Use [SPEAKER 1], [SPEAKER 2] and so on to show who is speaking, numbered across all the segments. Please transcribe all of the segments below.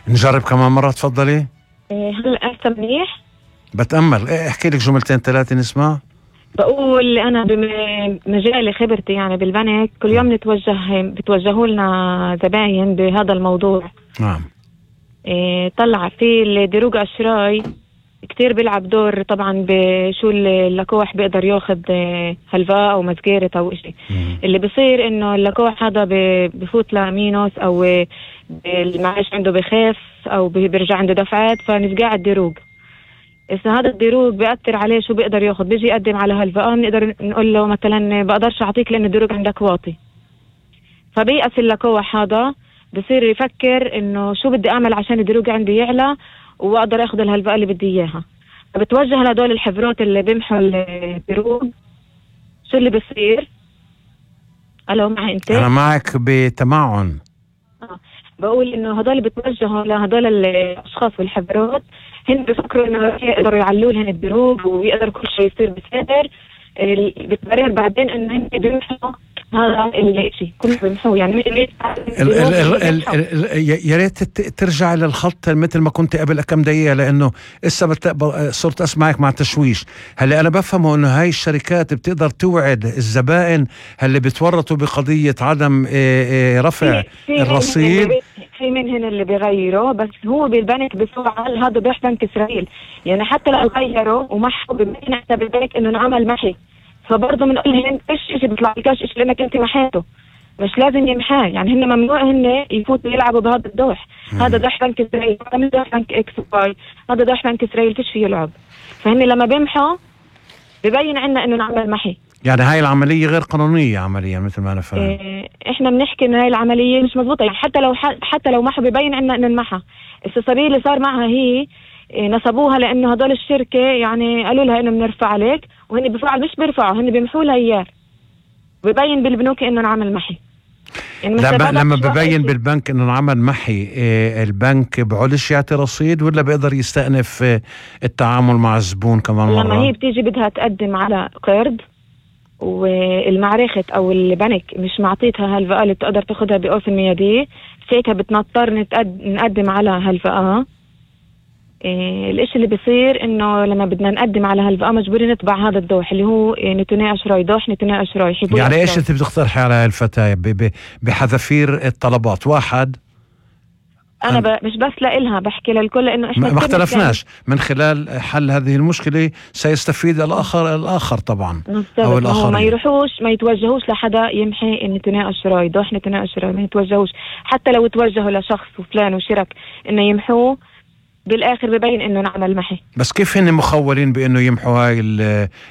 [SPEAKER 1] نجرب كمان مرة تفضلي.
[SPEAKER 2] هلا هسه منيح؟
[SPEAKER 1] بتأمل. احكي لك جملتين ثلاثة نسمع.
[SPEAKER 2] بقول أنا بمجالي خبرتي يعني بالبنك كل يوم بتوجهوا لنا زباين بهذا الموضوع.
[SPEAKER 1] نعم.
[SPEAKER 2] طلع في الدروج أشراي كتير بيلعب دور طبعا بشو اللقوح بيقدر ياخد هلفاء أو مسجيرة أو إشي. اللي بصير إنه اللقوح هذا بفوت لمينوس أو المعاش عنده بخاف أو بيرجع عنده دفعات فنفقع الدروج. إذا هذا الدروج بيأثر عليه شو بيقدر ياخد بيجي يقدم على هلفاء بنقدر نقول له مثلا بقدرش أعطيك لأن الدروج عندك واطي. فبيأس اللقوح هذا بصير يفكر إنه شو بدي أعمل عشان الدروج عندي يعلى وأقدر أخذ الهلفاء اللي بدي إياها. فبتوجه لهدول الحبروت اللي بيمحوا الدروج. شو اللي بصير؟ ألو معي أنت؟
[SPEAKER 1] أنا معك بتمعن.
[SPEAKER 2] بقول إنه هدول بتوجهوا لهدول الأشخاص والحبروت هن بفكروا إنه يقدروا يعلوا لهن الدروج ويقدر كل شيء يصير بساتر. بتبرر بعدين إنه هن بيمحوا هذا الشيء كله بيمحوه يعني
[SPEAKER 1] يا ريت ترجع للخط مثل ما كنت قبل كم دقيقة لأنه صرت أسمعك مع تشويش. هلا أنا بفهمه إنه هاي الشركات بتقدر توعد الزبائن اللي بتورطوا بقضية عدم رفع الرصيد.
[SPEAKER 2] في منهن اللي بيغيروا بس هو بالبنك بفعل هذا بيح بنك إسرائيل يعني حتى لو غيروا ومحوا ببين حتى بالبنك إنه نعمل محي فبرضه بنقول لهم ايش بيطلع لكاش ايش لانك انت محيته مش لازم يمحاه يعني هن ممنوع هن يفوتوا يلعبوا بهذا الدوح. هذا دوح بنك اسرائيل هذا مش دوح بنك اكس واي هذا دوح بنك اسرائيل فيش فيه يلعب. فهن لما بيمحوا ببين عنا انه نعمل محي.
[SPEAKER 1] يعني هاي العملية غير قانونية عمليا مثل ما انا فاهم.
[SPEAKER 2] احنا بنحكي ان هاي العملية مش مضبوطة يعني حتى لو محوا ببين عنا انه نمحى. السبيل اللي صار معها هي نصبوها لانه هدول الشركة يعني قالوا لها انه بنرفع عليك وهن بفعل مش بيرفعوا هن بيمحوا لها اياه. ببين بالبنوك انه نعمل محي. يعني
[SPEAKER 1] لما ببين بالبنك انه نعمل محي البنك بعولش يعطي رصيد ولا بيقدر يستأنف التعامل مع الزبون كمان مرة؟
[SPEAKER 2] لما هي بتيجي بدها تقدم على قرض والمعرفة او البنك مش معطيتها هالفئة اللي بتقدر تاخدها بأوف الميادية ساعتها بتنضطر نقدم على هالفئة. الاشي اللي بيصير انه لما بدنا نقدم على هالفئة مجبورين نطبع هذا الدوح اللي هو نتوني اشراي دوح نتوني اشراي.
[SPEAKER 1] يعني ايش انت بتقترحي على الفتاة بحذافير الطلبات؟ واحد
[SPEAKER 2] انا مش بس لإلها بحكي للكل لانه احنا
[SPEAKER 1] ما اختلفناش من خلال حل هذه المشكلة سيستفيد الاخر طبعا
[SPEAKER 2] او الاخرين. ما يروحوش ما يتوجهوش لحدا يمحي نتوني اشراي دوح نتوني اشراي ما يتوجهوش حتى لو توجهوا لشخص وفلان وشرك انه يمحوه بالاخر ببين انه نعمل محي.
[SPEAKER 1] بس كيف هن مخولين بانه يمحوا هاي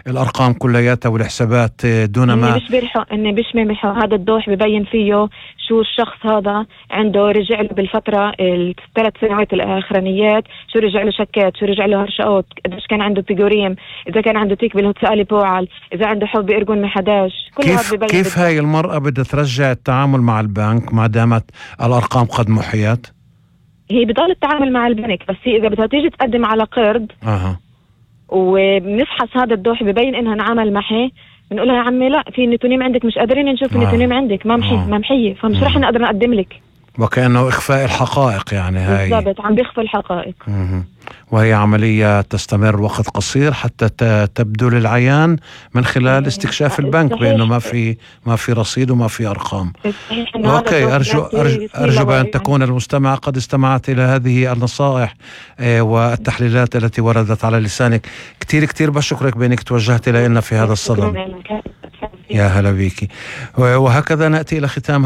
[SPEAKER 1] الارقام كلياتها والحسابات دون ما
[SPEAKER 2] مش بيرحوا انه مش بيمحوا هذا الدوح ببين فيه شو الشخص هذا عنده رجع له بالفتره الثلاث سنوات الاخرانيات شو رجع له شكات شو رجع له هرشقات قديش كان عنده بيجوريم اذا كان عنده تيك بالهوتسالي بوعل اذا عنده حب بيرجون محداش كل هذا ببين.
[SPEAKER 1] كيف هاي المرأة بدها ترجع التعامل مع البنك ما دامت الارقام قد محيت؟
[SPEAKER 2] هي بضل التعامل مع البنك بس هي إذا بدها تيجي تقدم على قرض وبنفحص هذا الدوح ببين إنها نعمل محي بنقولها يا عمي لا في نتونيم عندك مش قادرين نشوف النتونيم عندك ما محية فمش رح نقدر نقدم لك.
[SPEAKER 1] وكأنه إخفاء الحقائق يعني هاي
[SPEAKER 2] بالضبط عم بيخفوا الحقائق.
[SPEAKER 1] وهي عملية تستمر وقت قصير حتى تبدو للعيان من خلال استكشاف البنك بأنه ما في رصيد وما في أرقام. أوكي أرجو بأن تكون المستمع قد استمعت إلى هذه النصائح والتحليلات التي وردت على لسانك. كتير بشكرك بأنك توجهت إلينا في هذا الصدد. يا هلا بيكي. وهكذا نأتي إلى ختام